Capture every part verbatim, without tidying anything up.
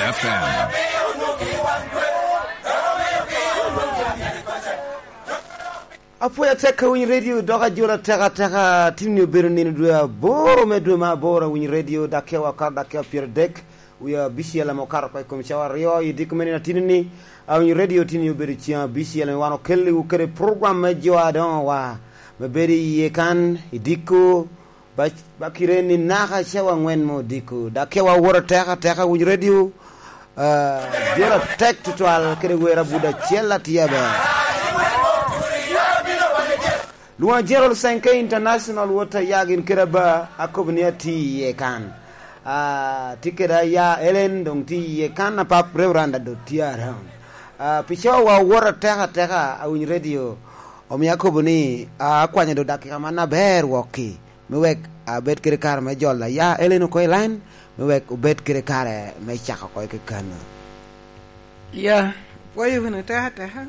F M. Apwoyo atek ka winy redio, dok ajola tek ateka. Tinni obedo nino dwe aboro me dwe me aboro, awiny redio, dakika akato dakika pyeradek, wie abicel ame okato oko i kom cawa aryo. I diko me nino atinni, awiny redio, tinni obedo ceŋ abicel ame wan okelliwu kede program me jo a doŋ owa, me bedo i yie kan, i diko, ba, ba kite ni naka cawa aŋwen me odiko. Dakika awoto atek ateka, winy redio, ah, jola tek tutwal kede wer abut acel atye aber. Lwoŋa Gerald Sankey International, wot a ya gin kede aba, akobo ni atye iye kan. Ah, tye kede aya Ellen, doŋ tye iye kan, apap Reverend Adot tye around. Ah, pi cawa wa wot ateka ateka, awiny redio, omio akobo ni, ah, akwanyo do dakika man aber wokki, me wek abed kede kare me jolo aya Ellen oko i line, me wek obed kede kare me cako oko i kekano. Ya, pwoyo wunu ateka ateka.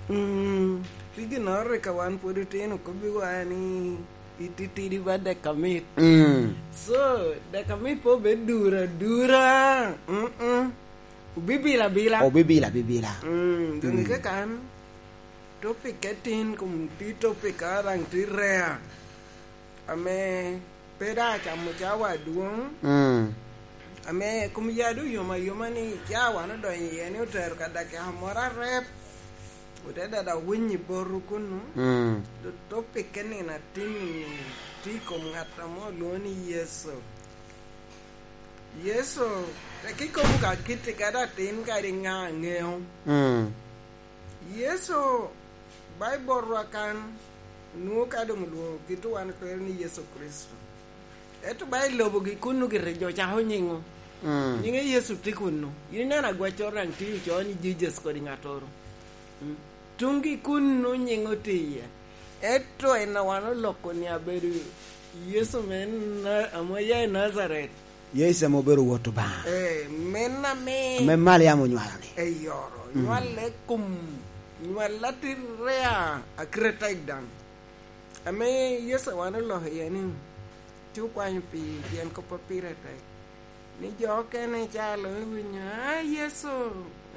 Mm, pi ginnoro rik ka wan pwod otino, kobbiwa ni ititidi ba dek amit. Mm. So, dek amit pe obed dura dura. Mm-mm. Obibila bila. Obibila bibila. Mm, doŋ mm, ikekan, topic atin, kom ti topic a daŋ ti rare. Ame pe daŋ acamo cawa adwoŋ, mm, ame kom ya doŋ yom ayoma ni cawa wan odonyo iye ni otero ka dakika moro arep, ote dada winyi boto kunu. Mm. Do topic ke nino atin ni tye i kom ŋat ame olwoŋo ni Yecu. Yecu, tek ikobo ka kitte kadi atin kadi ŋa aŋeo. Mm. Yecu, Baibol rwa kan, nwoŋo ka doŋ olwoŋo kit wan kwero ni Yecu Kricito. Ento ba i lobo gi kunnu gire jo cako nyiŋo? Mm. Nyiŋe Yecu tye kunnu. In ineno agwaccoro daŋ tye ocoo ni Jesus kodi ŋattoro. Mm. Tuŋgi kunnu nyiŋo tye iye. Ento en a wan oloko ni abedo Yecu me Na-, ame oya i Najaret. Yecu ame obedo Wot Obaŋa. Eh, men ame ame Maliam onywalo-ni. Eyoro, mm, nywale kom, nywal atirre a, akite tek daŋ. Ame Yecu wan oloko iye ni, tye okwanyo pi, pien kop a pire tek. Ni jo okene ca luŋ iwinyo, "Ah, Yecu,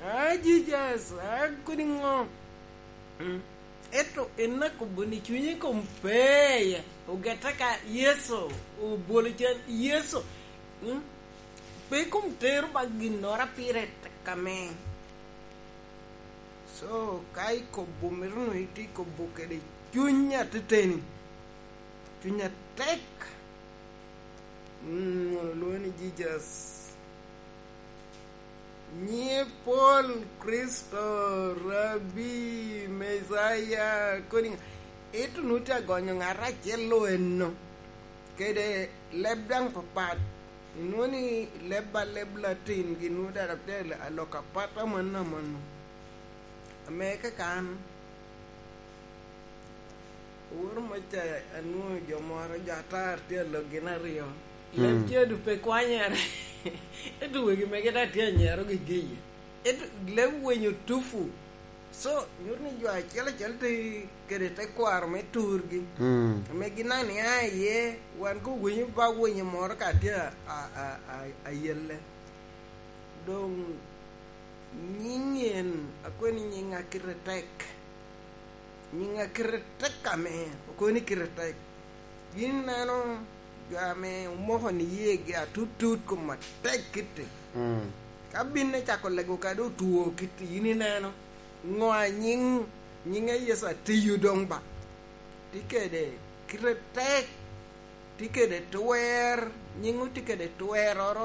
ah, Jesus, ah, kodi ŋo?" Mm. Ento en akobo ni cunye kom pe, ogette ka Yecu, obwolo can Yecu. Mm? Pe kom tero ba ginnoro a pire tek ame. So, ka ikobo, mito nwoŋo itye kobo kede cuny ateteni, cuny atek. Mm, mono olwoŋo ni Jesus. Nyiŋe pol, Kricito, Rabbi, Mecaya, kodi ŋa-, ento nwoŋo tye agonyo ŋat acel lo eno, kede leb daŋ papat. Inwoŋo ni leb a leb Latin gin nwoŋo dada tye alok apat amanno amanno. Ame kaka an, Owor Moca, anwoŋo jo moro, jo atar tye alok gin aryo. Leb mm, cedo pe kwanyere. Ento wegi mege daŋ tye anyero gigi iye. Ento leb winyo tufu. So, nyuto ni jo acel acel tye kede tekwaro me turgi. Mm. Ame gin daŋ nia iye, wan ko winyo ba winyo moro ka tye a, a, a, a, ayelle. Doŋ nyiŋ en, akwai ni nyiŋ a kite tek. Nyiŋ a kite tek ame, okobo ni kite tek. Yin ineno jo ame omoko ni yegi atut tut kom atek kitti. Mm. Ka binne cako lego kadi otwo kitti, yin ineno. Ŋo a nyiŋ, nyiŋ a Yecu atiyo doŋ ba? Tye kede kite tek, tye kede twer, nyiŋo tye kede tweroro,